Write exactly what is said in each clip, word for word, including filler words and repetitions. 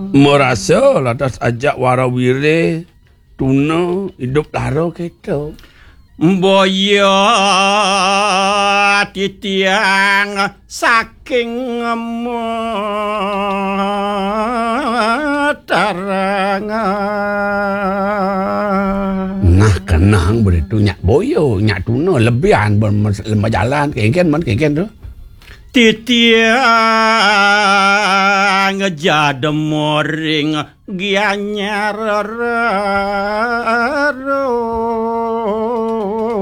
Merasa lantas ajak warawiri tuna idup lara kita. Boya titiang saking Matarangan. Nah, kenang begitu nyak boya, nyak tuna lebihan ber-, lemah jalan, kengken man, kengken tu. Titiang jadema ring Gianyar.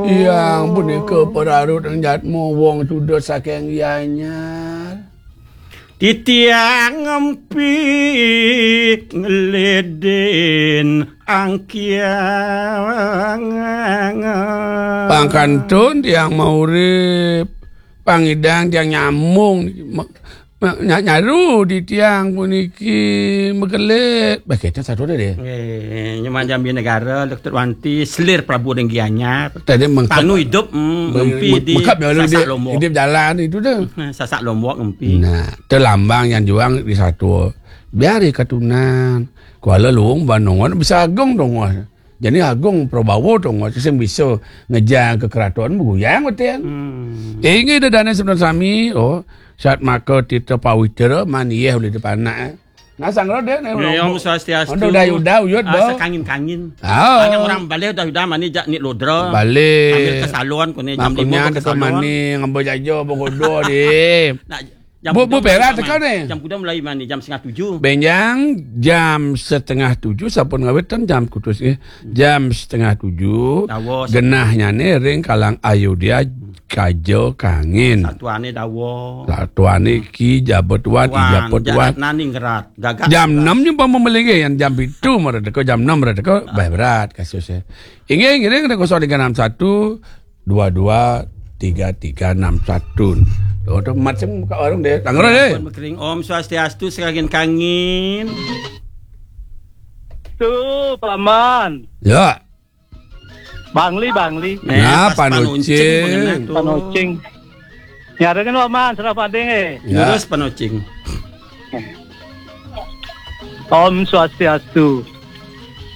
Yang punika perarut jadma wong suda saking Gianyar. Titiang empi ngelidin angkiang. Pangkantun tiang maurip, pangidang tiang nyamung, ma-, ma-, nya-, nyaru di tiang puniki mekelit. Bah, kita satu dah deh. Eh, nyeman Jambi Negara, Doktor Wanti, selir Prabu ring Gianyar. Tadi mengkep. Panu hidup, mm, meng-, ngempi meng-, di mengkep ya, Sasak dia Lombok. Hidup jalan itu dah. Nah, Sasak Lombok ngempi. Nah, telambang yang juang di satu. Biar katunan. Kuala Luung banungan bisa agung dong. Jadi agung Prabawa dong, sing bisa ngejang ke keraton beguyang betin. Hmm. Inggih dah dana sebenarnya sami, oh, saat maka tita pawitra manieh oleh dipanak. Nah, sang roda ni. Ya, Om Swastiastu. Udah, udah, udah, uyut, ah, dah. Sekangin-kangin. Ah. Anak orang balik dah, udah mani jak ni lodra. Balik. Sambil ke salon, kuni jam lima ke salon. Mani ngambil jaja, bogodo, deh. Nak, jam bu, bu, mulai perak mani? Jam kuda mulai mani, jam setengah tujuh. Benjang, jam setengah tujuh, sampun ngawitan jam kutus, eh. Jam setengah tujuh, dawa, genahnya ni ring kalang Ayodhya, kaja kangin. Satuane dawa. Satuane ki jabat tuan, tuan, ijapa tuan. Jagat nani ngerat. Gagak jam enam nyu pama melinggi, yang jam pitu mara teka, jam enam mara teka, ah, bah berat kasusnya. Inggih, inggih, kena kosong tiga enam satu, dua dua tiga tiga enam satu. Oh, tu macam buka warung deh. Tangerang deh. Ampun, Mekering. Om Swastiastu, sekangin-kangin. Tu, Paman. Ya. Bangli, Bangli. Eh, nah, pas Panucing. Panucing, mengenai tu. Panucing. Nyara kan Paman, serah pading, eh. Ya. Terus Panucing. Om Swastiastu.